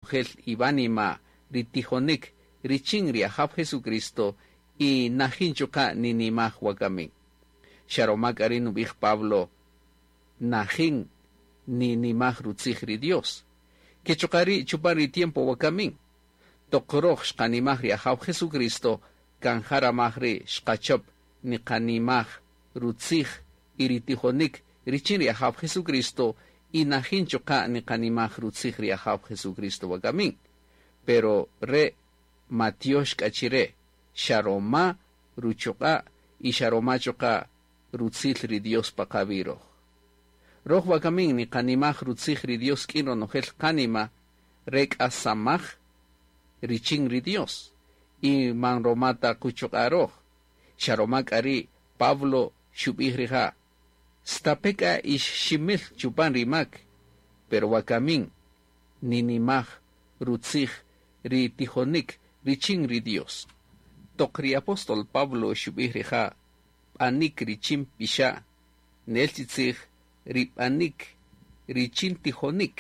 ronojel iwánima ri tijonik richin ri Ajaw Jesucristo y najin chuqa' ninimaj wakamin. Xa roma k'a ri' nub'ij Pablo, najin ninimaj rutzij ri Dios. Ke chuqa' ri' chupan ri tiempo wakamin, toq roj xqanimaj ri Ajaw Jesucristo, kan ja ramaj ri' xqachop niqanimaj rutzij y ri tijonik richin ri Ajaw Jesucristo y najin chuqa' niqanimaj rutzij ri Ajaw Jesucristo wakamin. Pero re' matiox k'a chire, xa roma ruchuq'a' y xa roma chuqa' rutzil ri Dios pa qawi' roj. Roj wakamin niqanimaj rutzij ri Dios k'in ronojel qánima, re k'a samaj richin ri Dios y man roma ta quchuq'a' roj. Xa roma k'a ri' Pablo xub'ij rija', stape' k'a ix ximil chupan ri mak, pero wakamin ninimaj rutzij ri tijonik richin ri Dios. Toq ri apóstol Pablo xub'ij rija' b'anik richin pixa', nel chi tzij ri b'anik richin tijonik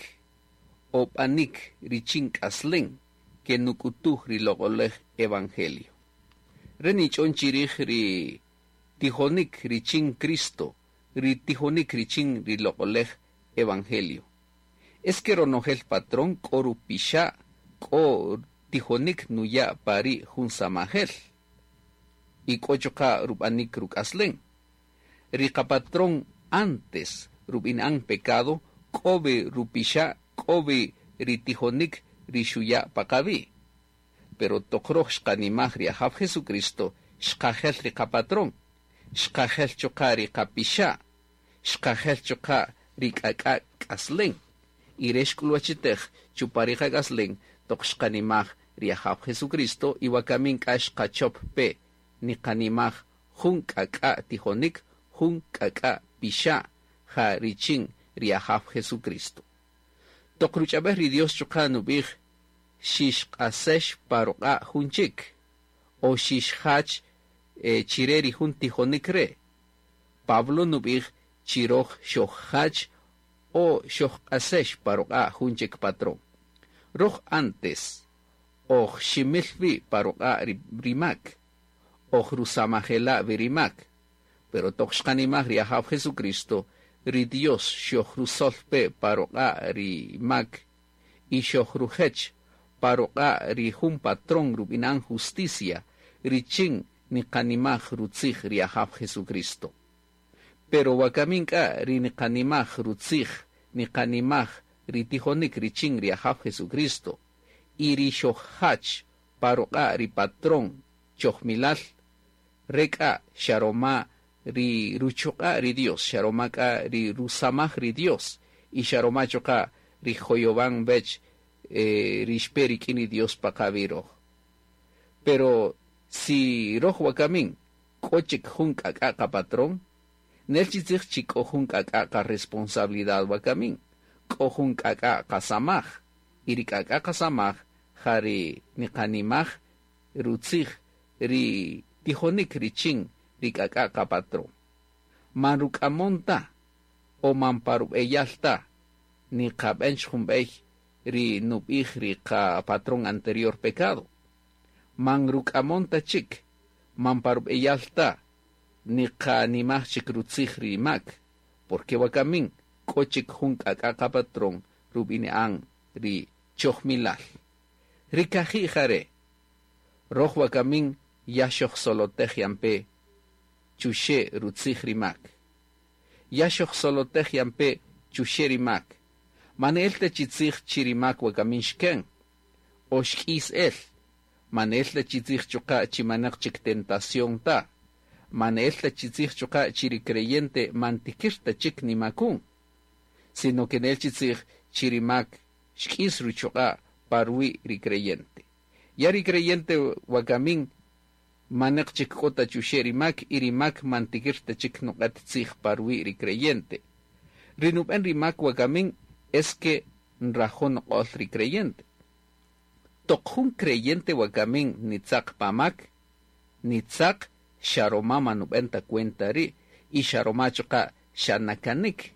o b'anik richin k'aslen ke nuk'utuj ri loq'olej evangelio. Re nich'on chirij ri tijonik richin Cristo, ri tijonik richin ri loq'olej evangelio. Es que ronojel patrón k'o rupixa' k'o tijonik nuya' pari' jun samajel y k'o chuqa' rub'anik ruk'aslen. Ri qapatrón antes rub'ini'an pecado k'o wi rupixa' k'o wi ri tijonik ri xuya' pa qawi'. Pero toq roj xqanimaj ri Ajaw Jesucristo, xqajel ri qapatrón, xqajel chuqa' ri qapixa', xqajel chuqa' ri k'ak'a' k'aslen. Y re xk'ulwachitej chupan ri qak'aslen toq xqanimaj ri Ajaw Jesucristo y wakamin k'a xqachop pe niqanimaj jun k'ak'a' tijonik, jun k'ak'a' pixa' ja richin ri Ajaw Jesucristo. Toq ruch'ab'el ri Dios chuqa' nub'ij xixq'asex pa ruq'a' jun chik o xixjach chire ri jun tijonik re'. Pablo nub'ij chi roj xojjach o xojq'asex pa ruq'a' jun chik patrón. Roj antes oj ximil wi pa ruq'a' ri mak, oj rusamajela' wi ri mak. Pero toq xqanimaj ri Ajaw Jesucristo, ri Dios xojrusol pe pa ruq'a' ri mak y xojrujech pa ruq'a' ri jun patrón rub'inan justicia richin niqanimaj rutzij ri Ajaw Jesucristo. Pero wakamin k'a ri niqanimaj rutzij, niqanimaj ri tijonik richin ri Ajaw Jesucristo y ri xojjach pa ruq'a' ri patrón chojmilal, re k'a xa roma ri ruchuq'a' ri Dios, xa roma k'a ri rusamaj ri Dios y xa roma chuqa' ri joyowan wech ri xpe rik'in ri Dios pa qawi' roj. Pero si roj wakamin k'o chik jun k'ak'a' qapatrón, nel chi tzij chi k'o jun k'ak'a' qaresponsabilidad wakamin, k'o jun k'ak'a' qasamaj y ri k'ak'a' qasamaj ja ri niqanimaj rutzij ri tijonik richin ri k'ak'a' qapatrón. Man ruk'amon ta o man pa rub'eyal ta niqab'en jun b'ey ri nub'ij ri qapatrón anterior pecado. Man ruk'amon ta chik, man pa rub'eyal ta niqanimaj chik rutzij ri mak, porque wakamin k'o chik jun k'ak'a' qapatrón rub'ini'an ri chojmilal. Ri kaji' jare', roj wakamin ya xojsolotej yan pe chuxe' rutzij ri mak. Ya xojsolotej yan pe chuxe' ri mak. Man el ta chi tzij chi ri mak wakamin xken, o xk'is el. Man el ta chi tzij chuqa' chi manaq chik tentación ta. Man el ta chi tzij chuqa' chi ri creyente man tikir ta chik nimakun. Sino que nel chi tzij chi ri mak xk'is ruchuq'a' pa ruwi' ri creyente. Ya ri creyente wakamin manaq chik k'o ta chuxe' ri mak y ri mak man tikir ta chik nuq'et tzij pa ruwi' ri creyente. Ri nub'en ri mak wakamin es que nrajo' nuq'ol ri creyente. Toq jun creyente wakamin nitzaq pa mak, nitzaq xa roma man nub'en ta cuenta ri' y xa roma chuqa' xa nakanik.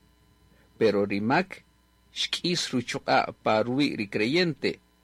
Pero ri mak xk'is ruchuq'a' pa ruwi' ri creyente.